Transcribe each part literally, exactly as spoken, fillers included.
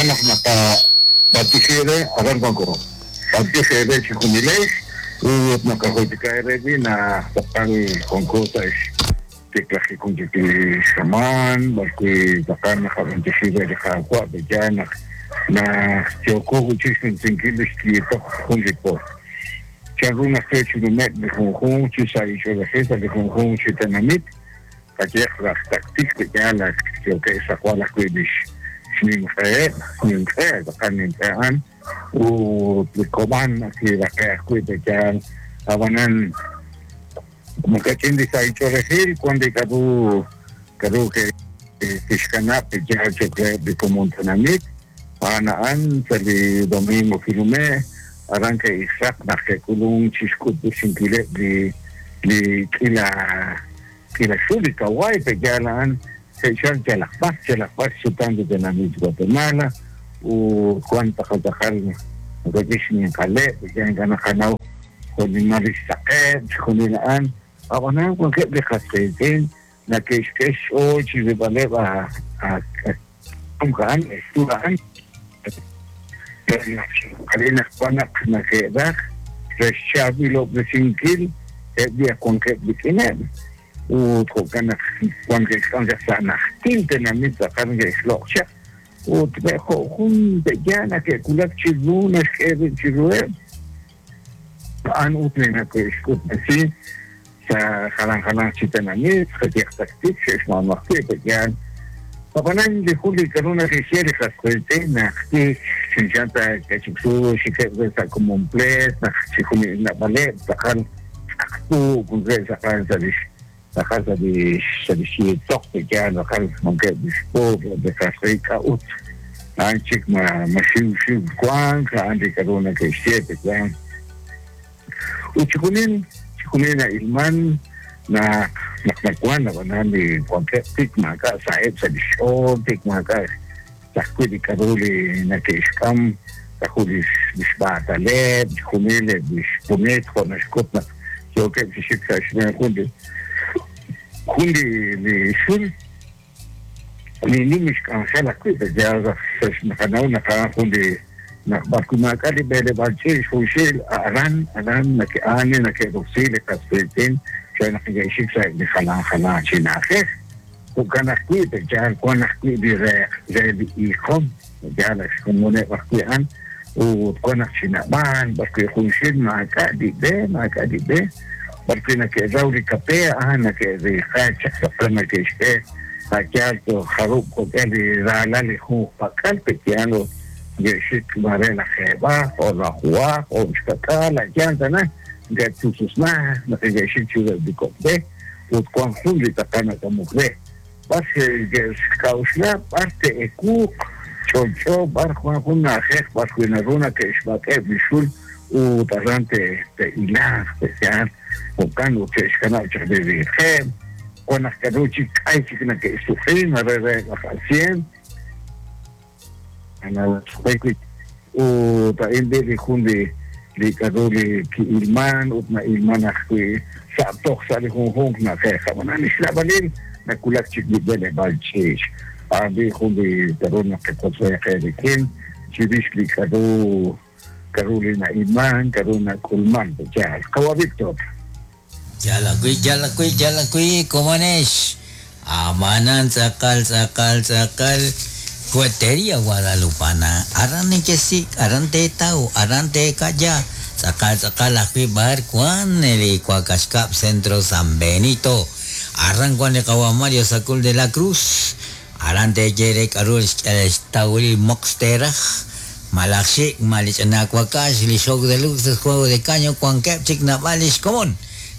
Naq naqab'antioxi re aran wanko b'antiox eere chi junilex ut naqajultika eere wi naq tz'aqal wanko sa' xtiklajik jun chik li xamaan b'arwi' tz'aqal naqab'antioxi re li Qaawa' pe'yaal naq naq yooko wi'chik xnumsinkil li xyiitoq jun li po chanru naq yo chi nume'k li junjunq chi sa' ch'oolejil sa' li junjunq chi tenamit qayehaq laj Taktik pe'yaal ak yookeb' xsaqwal ajwi' li xnimq'eheb' nimq'e tz'aqal nimq'e a'an ut li kob'an kiraqe' ajwi' pe'yaal ab'anan makach'in li sa' ch'oolejil wan li k'a'ru k'a'ru kixkanab' pe'yaal cho'q reheb' li komon tenamit a'an a'an sa' li domingo kinume' aran ke'ixraq naq ke'k'ulunk chi xk'utb'esinkileb' li li k'ila k'ila xul li kawaay pe'yaal a'an ke'xal yalaq b'ar yalaq b'ar xsutam li tenamit Guatemala ut wan tz'aqal tz'aqal makach'in xninqaleb' pe'yaal ink'a' naqanaw jo'nimal li xsaqeb' chixjunil a'an ab'anan wankeb' li qas qiitz'in nake'xk'e xch'ool chi rilb'aleb' a a'an xul a'an naq wan naq nake'raj re xchaab'ilob'resinkil eb' li wankeb' rik'ineb' ut jo'kan naq wan ke'xk'am chaq sa' najtil tenamit tz'aqal ke'xloq' chaq ut jo' jun pe'yaal nake'wulak chiru naxk'e rib' chiruheb' a'an ut li nake'xk'utb'esi sa' jalan jalan chi tenamit qayehaq Taktik xe'xmaanu ajwi' pe'yaal ab'anan li jun li k'a'ru nake'xye li qas qiitz'in naq tik chanchan ta k'achiksu xikeb' re sa' komonpleet naq chijunil nab'aleb' tz'aqal tz'aqtu wankeb' tz'aqal sa' lix tz'aqal sa' li sa' li xyiitoq pe'yaal tz'aqal wankeb' li xpuub' li qas qiitz'in k'a'ut a'an chik ma ma xiw xiw wank a'an li k'a'ru nake'xye pe'yaal ut chijunil chijunil na'ilman naq naq nawan ab'anan li wankeb' tik maak'a' sa'eb' sa' li xch'ool tik maak'a' ajwi' li k'a'ru li nake'xk'am k'aju li xb'aataleb' chijunil eb' li xpunit jo' naxk'ut naq yookeb' chi xik sa' xb'een jun li jun li li xul li nim xk'anjel ajwi' pe'yaal naqanaw naq a'an jun li naq b'arwi' maak'a' li b'eleb'aal ch'iich' junxil aran aran nake'aan nake'roksi li qas qiitz'in re naq neke'xik sa' li jalan jalan chi na'ajej jo'kan ajwi' pe'yaal wan ajwi' li re re li iiqom pe'yaal ak xkomoneb' ajwi' a'an ut wan naq chi nab'aan b'arwi' junxil maak'a' li b'e maak'a' li b'e b'arwi' nake'raw li kape a'an nake'riiqa chaq tz'aqal nake'xk'e a'yaal jarub' jo'k'e li raalal li junqpak'al pe'yaal neke'xik mare lajeeb'aq o lajuwaq o xkak'aal a'yaal tana nke'tususnaj naq neke'xik chiruheb' li kok' b'e ut wan jun li tz'aqal nak'amok re b'ar xk'a'uxla b'ar te'ekuuq ch'olch'o b'ar wan jun na'ajej b'arwi' naru nake'xb'ak'eb' li xul ut aran te'ilaaq pe'yaal jo'kan ut che'xkanab' chaq li riiqeb' wan naq k'a'ru chik k'ay chik nake'xsuq'i mare re laj asien ut a'in b'i li jun li li k'a'ru li ki'ilman ut na'ilman ajwi' sa' toj sa' li junjunq na'ajej ab'anan li xlab'alil nakulak chik li b'eleb'aal ch'iich' a'an b'i jun li k'a'ru naqak'otz'e qe rik'in chirix li k'a'ru k'a'ru li na'ilman k'a'ru nak'ulman pe'yaal qawa Víctor. Yal ajwi' yal ajwi' yal ajwi' komonex amanan tz'aqal tz'aqal tz'aqal Cuetería Guadalupana aran nekesik aran teetaw aran teekaya tz'aqal tz'aqal ajwi' b'ar wan li Cuacaxcab Centro San Benito aran wan li qawa Mario Sacul de la Cruz aran teeyere k'a'ru xtawil mox teraj malaj xik malich'ana wakax li show de luces juego de caño wankeb' chik nab'al lix komon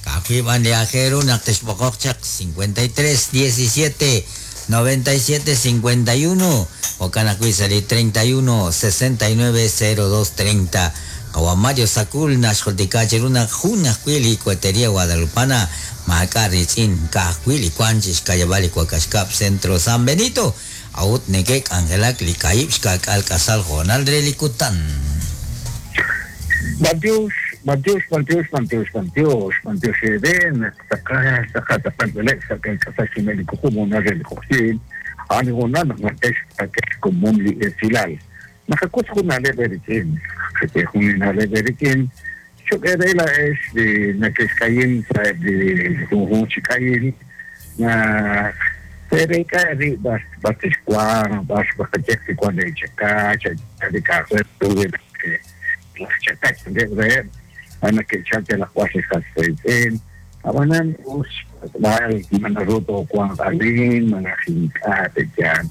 ka'ajwi' b'an li ajeru naq texb'oqoq chaq cincuenta y tres diecisiete noventa y siete cincuenta y uno jo'kan ajwi' sa' li treinta y uno sesenta y nueve cero dos treinta qawa Mario Sacul naxjultika chiru naq jun ajwi' li Cuetería Guadalupana maak'a' ritz'in ka'ajwi' li wan chi xkayab'al li Cuacaxcab Centro San Benito awut neke'k'anjelak li ka'ib' xka'k'al k'asal jo'nal re li kutan. B'antiox, b'antiox, b'antiox, b'antiox, b'antiox, b'antiox eren, tz'aqal, tz'aqal, tz'aqal b'eleb' sa' k'asal xumel li kujumo na re li q'oqyin, a'an li hoonal naq naqex qak'e xkomon li esilal. Naqak'ut jun na'leb' rik'in, jun na'leb' rik'in, cho'q re laa'ex li nake'xk'ayin sa'eb' li junjunq chi k'ayil, naq te'reek'a rib' b'ar b'ar tixwanq, b'ar b'aqayeq li wan leechakach, li k'a'aq re ru laj chakach reheb', a nake'chalk yalaq b'ar li qas qiitz'in, ab'anan us xpatz'b'al ma naru toowanq arin, malaj ink'a' te'yaal.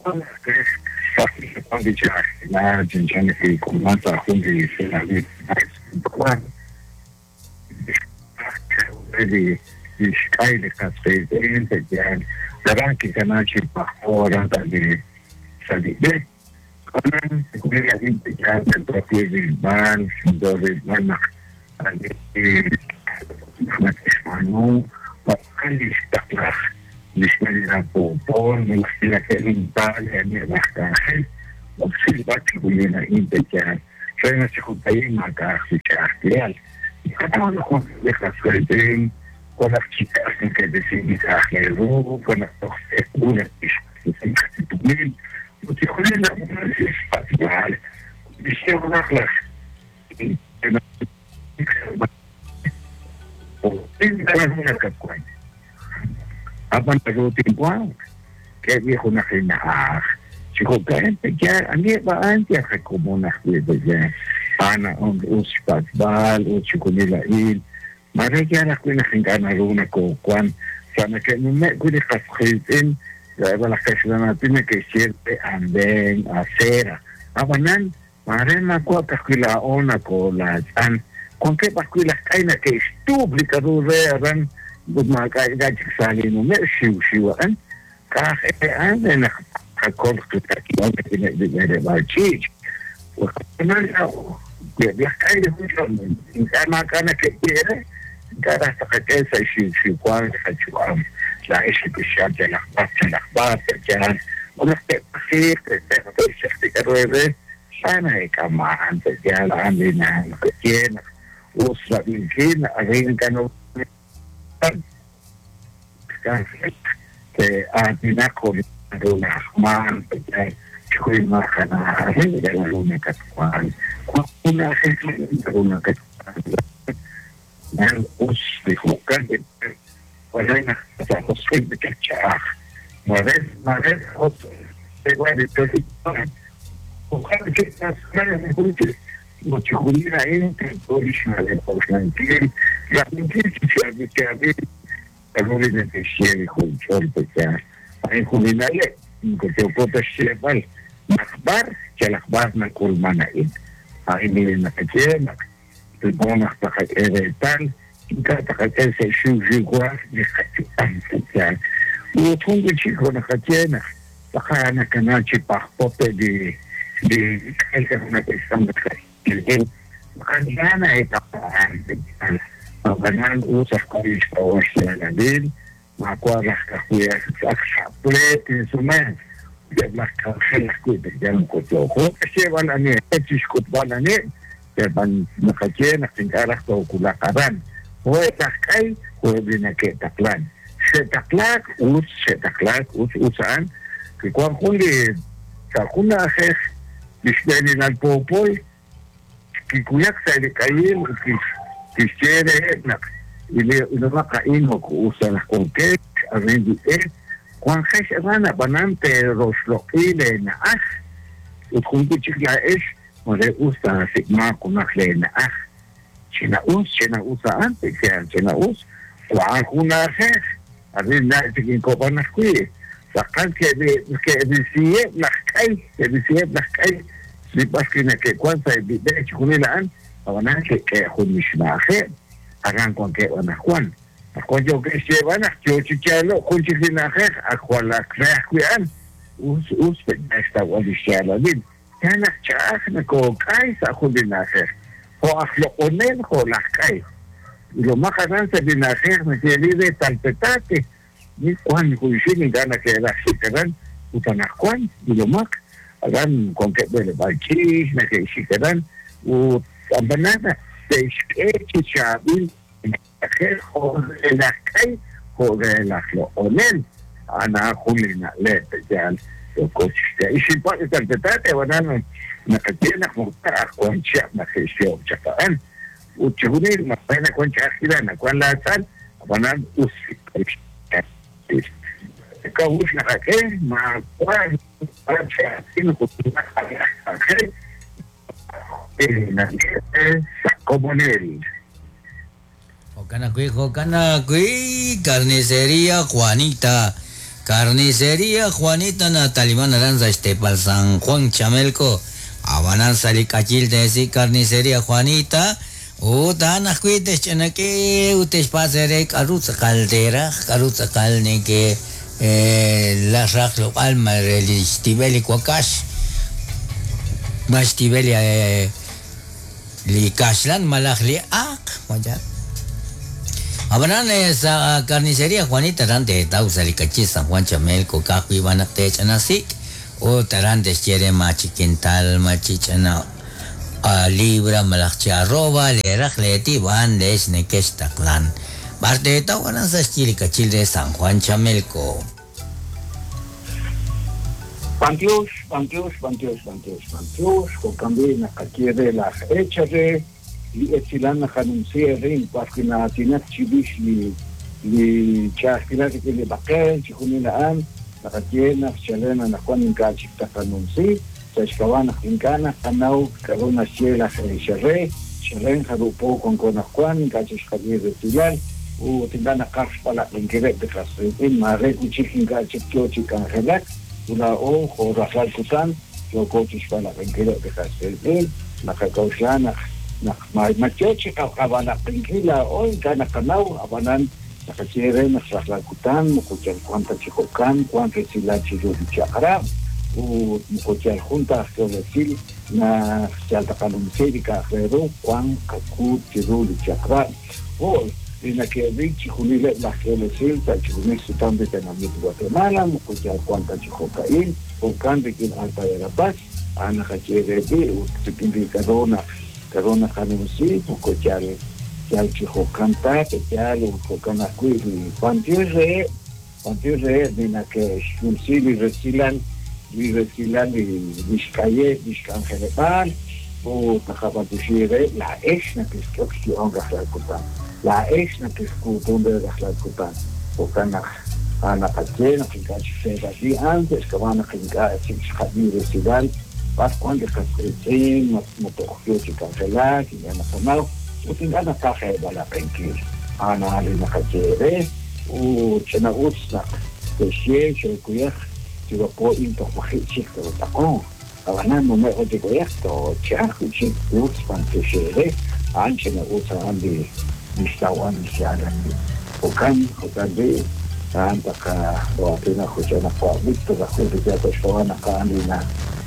Wan li ch'a'ajkilal chanchan li k'ulman sa' jun li tenamit wan li li xk'ay li qas qiitz'in te'yaal aran kikana chi pajpo aran sa' li sa' li b'e. Ab'anan chixjunil a'in te'yaal tento ajwi' rilb'al, tento rilb'al naq nake'xb'aanu tz'aqal li xtaqlaj li xb'eenil poopol malaj li nake'rintal aniheb' laj k'anjel ut xrilb'al chixjunil a'in te'yaal re naq chi jo'ka'in maak'a'aq li ch'a'ajkilal. Naqanaw naq wan li qas qiitz'in wan naq chi k'as nake'risink li k'a'aq re ru, wan naq toj ewu nake'xq'axtesi tumin ut chixjunil a'in xpatz'b'al li xyeemanaq laj nakatwan. Ab'an naru tinwanq k'e junaq li na'aj chi jo'ka'in te'yaal aniheb' a'an yal qakomon ajwi' te'yaal a'an us xpatz'b'al ut chixjunil a'in mare yaal ajwi' naq ink'a' naru nakoowan sa' nake'nume' wi' li qas qiitz'in eb' laj kaxlanaatin nake'xye re andén, acera, ab'anan mare maawa' ka'ajwi' laa'o nakoolaatz'an wankeb' ajwi' laj k'ay nake'xtuub' li k'a'ru re aran ut maak'a' ink'a' chik sa' li nume' xiwxiw a'an k'a'aj a'an re naq qakol qak'ilal rik'ineb' li b'eleb'aal ch'iich'. Ab'anan eb' laj k'ay li junch'ol ink'a' maak'a' nake'ye re ink'a' raj taqak'e sa' xiwxiwal li qayu'am laa'ex neke'xyal yalaq b'ar yalaq b'ar te'yaal ut naq te'pajiiq te'xchaq li k'a'ru re sa na'eek'aman te'yaal a'an li naqaye naq us rab'inkil arin ink'a' te'aatinaq jo' li naru na'ajman te'yaal chixjunil maak'a' naru nakatwan wan jun na'ajej naru nakatwan nan us li jo'kan wala naq sa' josq'il ch'a'aj mare mare ut chixjunil a'in tento li xna'leb' k'oxlankil rab'inkil chi chaab'il chaab'il k'a'ru li neke'xye li junch'ol te'yaal a'in jun li na'leb' moko yooko ta xyeeb'al naq b'ar yalaq b'ar nak'ulman a'in a'in li naqaye naq tento naq taqak'e reetal ink'a' taqak'e sa' xiwxiwal li qayu'am te'yaal ut jun wi' chik jo' naqaye naq tz'aqal nakana chi pajpote li li k'ay k'a'ru nake'xk'am laj ink'a' na'eek'aman te'yaal ab'anan us ajwi' xk'a'uxl xyaalalil maawa' raj ka'ajwi' ak sa' pleet tinsumen eb' laj k'anjel ajwi' te'yaal moko yooko xyeeb'al aniheb' chixk'utb'al aniheb' b'an naqaye naq ink'a' raj toowulaq aran jo'eb' laj k'ay jo'eb' li nake'taqlan xe'taqlaak us xe'taqlaak us us a'an kiwan jun li sa' jun na'ajej li xb'eenilal poopol kikuyaq sa' li k'ayil ut kixye reheb' naq ilomaq a'in moko us ta naq wankex arin li b'e wanjex aran ab'anan te'roxloq'i leena'aj ut jun wi' chik laa'ex mare us taasik'maaq junaq leena'aj china'us china'us a'an te'yaal china'us wan jun na'ajej arin na' chik inkob'an ajwi' tz'aqal ke'risiheb' laj k'ay ke'risiheb' laj k'ay li b'ar li nake'wan sa' li b'e chixjunil a'an ab'anan ke'k'e jun li xna'ajeb' aran wankeb' anaqwan anaqwan yookeb' xyeeb'al naq yoo chi yaalo'k jun chik li na'ajej ak jwal ak re ajwi' a'an us us te'yaal xtawb'al li xyaalalil ya naq ch'a'aj nakook'ay sa' jun li na'ajej jo' aj loq'onel jo' laj k'ay ilomaq aran sa' li na'ajej nake'ri re Talpetate ni wan junxil ink'a' nake'raj xik aran ut anaqwan ilomaq aran wankeb' b'eleb'aal ch'iich nake'xik aran ut ab'anan te'xk'e chi chaab'il na'ajej jo' re laj k'ay jo' re laj loq'onel a'an a'an jun li na'leb' te'yaal Ixinpa' italpetate wanan naqaye naq moko wan chihab' naq xe'xyo'ob' chaq a'an ut chijunil mare nawan ch'a'ajkilal nawan laatz'al ab'anan us kawux naqak'e maawa komonel. Jo'kan jo'kan Carnicería Juanita. Carnicería Juanita Natalimán Aranza Estepal San Juan Chamelco. Abanan Salikachil de Carnicería Juanita. Utan ajkuites chanake utes pasere karutza caldera karutza calneke la rajlo alma relistibeli cuacash mastibeli li kashlan malaj li ak waya Abanan esa carnicería Juanita rante tausa li San Juan Chamelco kahui banakte chanasik o tarantes quiere machiquintal machichana a libra malach arroba le rajleti van les nequestaclan parte tawanan sa kachil de San Juan Chamelco. Pantius, pantius, pantius, pantius, pantius, jokambi naqakiere la echare li etzilan naqanunciere parque na tinak chibish li li chasquila que le baqel chijunila an naqakiena chalena najuan inka chiktakanunci Tlaxcahuana, Quincana, Hanau, Carona, Ciela, Xerre, Xerren, Jarupo, Conconajuan, Cachis, Javier de Tilal, U, Tindana, Carspala, Linqueret de Castin, Mare, Uchichin, Cachis, Canjelac, Una O, Jorajal, Cután, Yocochis, Pala, Linqueret de Castin, Nacacauxana, Machochi, Cabana, Pinquila, Oy, Cana, Canau, Abanan, Nacachiere, Naxrajlacután, Mucuchal, Cuanta, Chicocán, Cuanta, Silachi, Chacra, u mukochal junta geolesil na chaltaqanumsi kajreru Juan kaku chiru chakra o ina que richi junile la geolesil ta chijunil sutan de tenamit Guatemala mukochal Juan tachijocaín o kan rikin Alta de la Paz ana kacherebi u tikin karona karona kanumsi mukochal chal chijocanta chal u jocanakui pantirre pantirre dina que shumsili resilan Resilan Vizcaye, Vizcangelepal, o Tajapantushire, la esna que es que la esna que es de Rajlalcután, o Canaj, Anapatena, que antes que van a Resilan, Pascuan de Castelín, Motojio, Cancelar, y Anaconao, o Tingana Caja de Balapenquil, Ana Alina Cachere, o Chenagutzna, Texie, Cuyaj. Po into chic tacón abanando me oye esto chaco chic utspan que anche me usa andi nistawan siara okan okan de anta ka o atena jochana pa visto la gente que toshwana ka andi na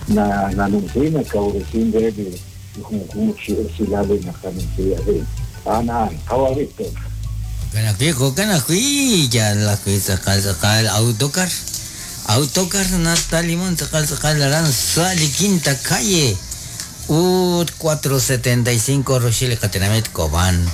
na na nunzina ka uresin de de junjuchi silale na kanuncia de ana kawavito kana ki kana ki ya la que saca saca autocar Autocar Natalimón, Sacal, Sacal, Arán, Sali, Quinta Calle, U cuatro setenta y cinco, Rochile, Catenamet, Cobán.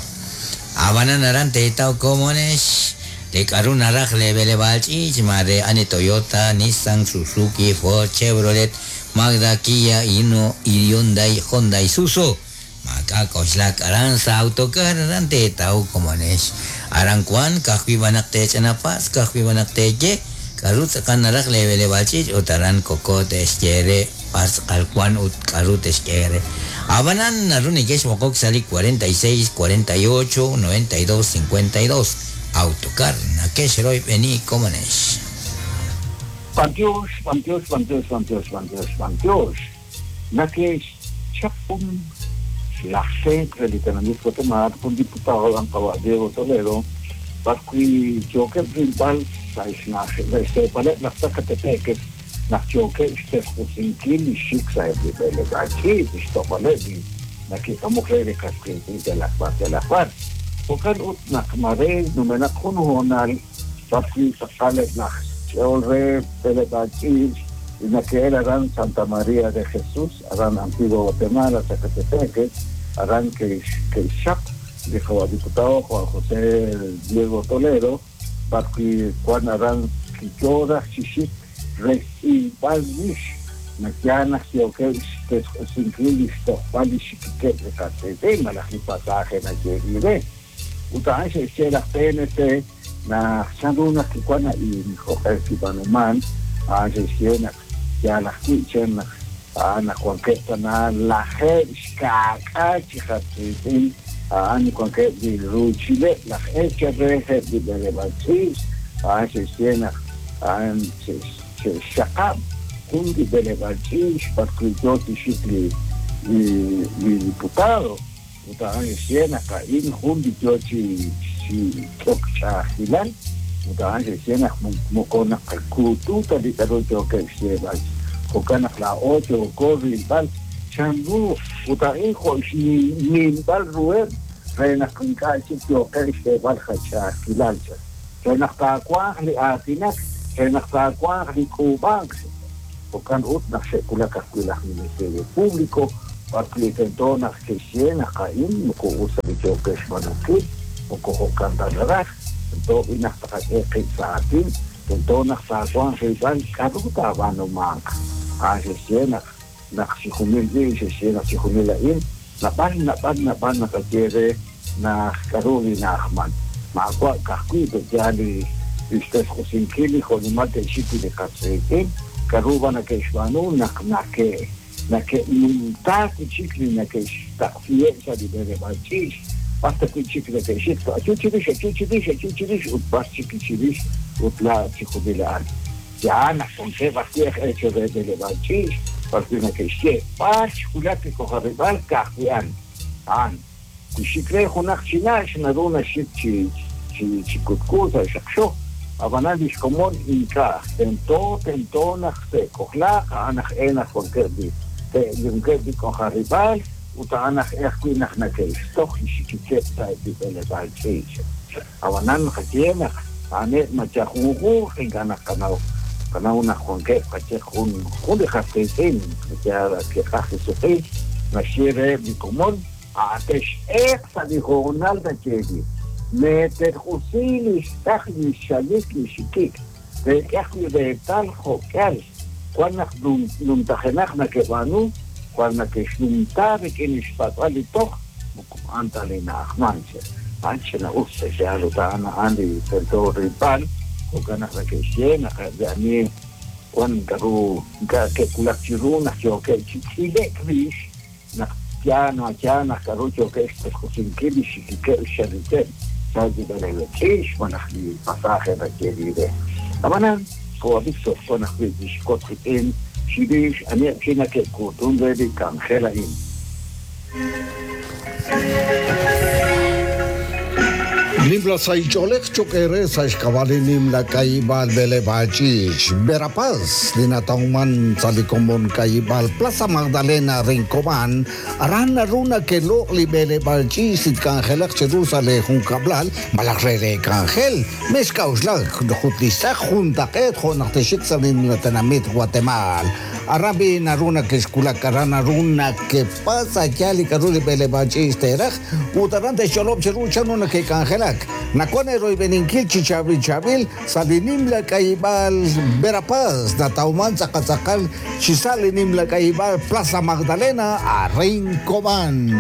Abanan Arante, Tao Comones, de Karuna Rajle, Belebalch, Mare, Ane Toyota, Nissan, Suzuki, Ford, Chevrolet, Mazda, Kia, Hino, Hyundai, Honda, Isuzu. Macaco, Shlak, Aranza, Autocar, Arante, Tao Comones. Arancuan, Cajuibanacte, Chanapaz, Cajuibanacte, Ye. Karut kanaraj levele balchich utaran cocote esquere pascalcuan ut karut esquere. Abanan naruni kesh mokok sali cuarenta y seis, cuarenta y ocho, noventa y dos, cincuenta y dos. Autocar nakesheroy beni komonesh. Pantios, pantios, pantios, pantios, pantios, pantios. Nakesh chapum la centro literalmente Guatemala con diputado Don Diego Toledo parqui choque principal Zacatepec, nachoque xtejpusinkil ixik sa ebelekachi ixtopalebi nakikamukle kaskintin telakbar telakbar okan ut nakmare numenak junjonal parqui saqalet naj cheolre belekachi naquel aran Santa María de Jesús aran Antiguo Guatemala Zacatepec aran que que xap dijo al diputado Juan José Diego Toledo parqui Juan Arán Quichora, Chichit, re xtz'ilb'al rix naq yaal naq yookeb' xtesq'usinkil li xtojb'al li xikikeb' li qas qiitz'in malaj li pasaje nayeeb'il re. Ut a'an xe'xye laj P N C naq chanru naq kiwan a'in jo'q'e kib'aanuman, a'an xe'xye naq yaal ajwi' chen naq a'an naq wankeb' tana lajeeb' xka'k'aal chi qas qiitz'in, a'an wankeb' li ruuchileb' laj eechej reheb' li b'eleb'aal ch'iich', a'an xe'xye naq a'an xe'xxaqab' jun li b'eleb'aal ch'iich' b'arwi' yoo chi xik li, li, li diputado. Ut a'an xe'xye naq a'in jun li yoo chi, chi k'ok ch'a'ajkilal. Ut a'an xe'xye naq moko naq kuutu ta li k'a'ru yookeb' xyeeb'al. Jo'kan naq laa'o yooko rilb'al chanru ut a'in jo' xnimb'al ruheb' re naq ink'a' chik yookeb' xyeeb'al qach'a'ajkilal. Re naq taawanq li aatinak, re naq taawanq li k'uub'ank. Jo'kan ut naq xe'wulak ajwi' laj Ministerio Público, b'arwi' tento naq ke'xye naq a'in moko us ta li yookeb' xb'aanunkil, moko jo'kan ta naraj. Tento b'i naq taqak'e qib' sa' aatin, tento naq taawanq rilb'al k'a'ru taab'aanumanq. A'an xe'xye naq naq chi junil b'i, xe'xye naq chi junil a'in, nab'al, nab'al, nab'al naqaye re naq k'a'ru li na'ajman. Maawa' ka'ajwi' te'yaal li li xtesq'usinkil li jo'nimal te'xik li qas qiitz'in, k'a'ru b'an nake'xb'aanu naq nake', nake'numtaak chik li nake'xtaqsiheb' sa' li b'eleb'aal ch'iich', b'ar ta wi' chik nake'xik, ayu chirix, ayu chirix, ayu chirix, ut b'ar chik chirix, ut la chi junil a'an. Yaal naq wankeb' ajwi' aj eechej re b'eleb'aal ch'iich', b'ar wi' nake'xye, b'ar xwulak li k'ojarib'aal ka'ajwi' a'an. A'an, wi xik re junaq chi na'x, naru naxik chi, chi, chi kutku sa' xaqxo. Ab'anan li xkomon ink'a', tento, tento naq te'k'ojlaaq, a'an aj e naq wankeb' li, wankeb' li k'ojarib'aal, ut a'an aj e ajwi' naq nake'xtoj li xikikeb' sa' li b'eleb'aal ch'iich'. Ab'anan qaye naq a'aneb' macha junjunq ink'a' naq qanaw, qanaw naq wankeb' qaye jun, jun li qas qiitz'in, yaal ke'qaj li suq'i, naxye reheb' li komon, a' te'x'eeq sa' li hoonal nayeeb'il. Meterq'usi li xtaq li xalik li xikik, te'k'e ajwi' reetal jo'k'al, wan naq numtajenaq nake'b'aanu, wan nake'xnumta rik'in li xpatz'b'al li toj, moko a'an ta li na'ajman che. A'an ch'ina'us xe'xyaal ut a'an a'an li tento rilb'al, jo'kan naq nake'xye naq li ani wan k'a'ru ink'a' ke'wulak chiru naq yookeb' chi tz'ile'k rix, naq yaal no yaal naq k'a'ru yookeb' xtesq'usinkil li xikikeb' xxalikeb' sa' li b'eleb'aal ch'iich' malaj li pasaje nayeeb'il re. Ab'anan, jo' Víctor wan ajwi' li xkot rik'in chirix aniheb' chi nake'kuutun re li k'anjel a'in. Nimla saich'oolej choq' eere sa' xk'ab'a' li nimla k'ayib'aal b'eleb'aal ch'iich' Verapaz, li natawman sa' li komon k'ayib'aal Plaza Magdalena Rincobán, aran naru nake'loq' li b'eleb'aal ch'iich' li tk'anjelaq cheru sa' li junkab'lal malaj re re k'anjel. Mex k'a'uxlak jut li xtz'aq juntaq'eet jo' naq texik sa' li nimla tenamit Guatemala. Aran b'i naru nake'xkulak, aran naru nakepasa yaal li k'a'ru li b'eleb'aal ch'iich' teeraj, ut aran te'xch'olob' cheru chanru nake'k'anjelak. Nakwan eroyb'eninkil chi chaab'il chaab'il sa' li nimla k'ayib'aal Verapaz, natawman tz'aqal chi sa' li nimla k'ayib'aal Plaza Magdalena a Rincobán.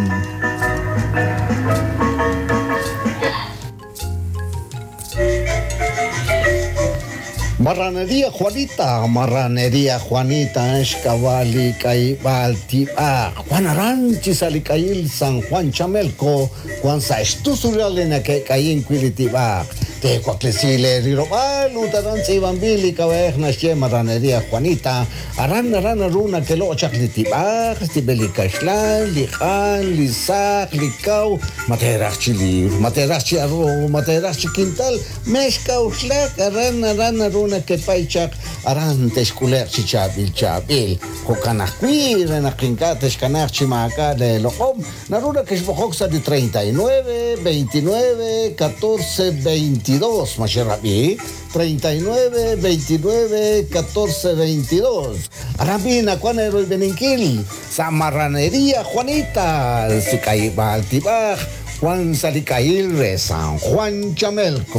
Marranería Juanita, Marranería Juanita, Xkabali, Kaibal, Tiba, Juan Aranchi, Salikayil, San Juan Chamelco, Juan Saxtusuralena, que Caín Quilitiba, Tecuaclesile, Rirobal, Utaran, Sibambili, Cabej, Naxie, Marranería Juanita, Aran, Aran, Aruna, que lo Chaclitiba, Stibelicaxlan, Lijan, Lizac, Licau, Materachili, Materachi Arro, Materachi Quintal, Mexca, Uxlac, Aran, Aran, Aruna, que paichak aran texkuler chi chabil chabil jo'kanajwi re naq ink'a' texkanaj chi maak'a' le loq'om naru nakexb'oqok sa' li treinta y nueve, veintinueve, catorce, veintidós maxerab'i treinta y nueve, veintinueve, catorce, veintidós aran bi nakuan eroyb'eninkil sa' Marranería Juanita sik'ayib'aal tib'aj Juan Salikail re San Juan Chamelco.